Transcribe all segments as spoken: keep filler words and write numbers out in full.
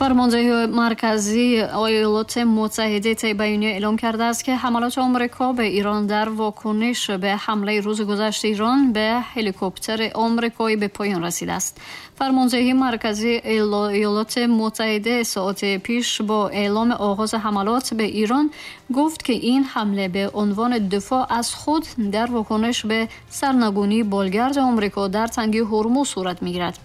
فرماندهی مرکزی ایالات متحده طی بیانیه اعلام کرده است که حملات آمریکا به ایران در واکنش به حمله روز گذشته ایران به هلیکوپتر آمریکایی به پایان رسیده است. فرماندهی مرکزی ایالات متحده ساعت پیش با اعلام آغاز حملات به ایران گفت که این حمله به عنوان دفاع از خود در واکنش به سرنگونی بالگرد آمریکا در تنگه هرمز صورت می‌گیرد.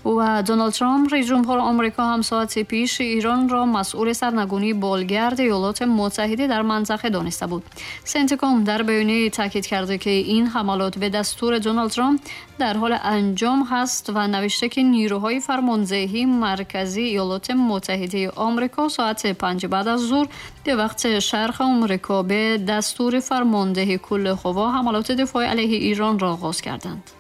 و دونالد ترامپ رئیس جمهور آمریکا هم ساعت پیش ایران را مسئول سرنگونی بالگرد ایالات متحده در منطقه دانسته بود. سنتکام در بیانیه‌ای تاکید کرده که این حملات به دستور دونالد ترامپ در حال انجام هست و نوشته که نیروهای فرماندهی مرکزی ایالات متحده آمریکا ساعت پنج بعد از ظهر به وقت شرق آمریکا به دستور فرمانده کل قوا حملات دفاعی علیه ایران را آغاز کردند.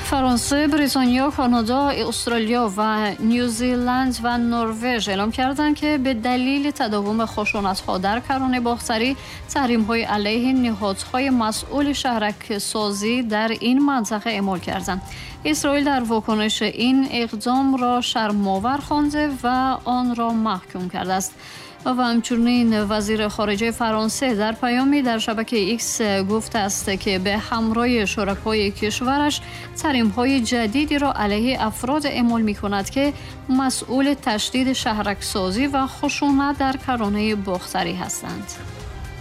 فرانسه، بریتانیا، کانادا، استرالیا و نیوزیلند و نروژ اعلام کردند که به دلیل تداوم خشونت‌ها در کرانه باختری تحریم‌های علیه نهادهای مسئول شهرک سازی در این منطقه اعمال کردند. اسرائیل در واکنش این اقدام را شرم‌آور خوانده و آن را محکوم کرده است. و همچنین وزیر خارجه فرانسه در پیامی در شبکه ایکس گفته است که به همراه شرکای کشورش تحریم‌های جدیدی را علیه افراد اعمال می‌کند که مسئول تشدید شهرک‌سازی و خشونت در کرانه باختری هستند.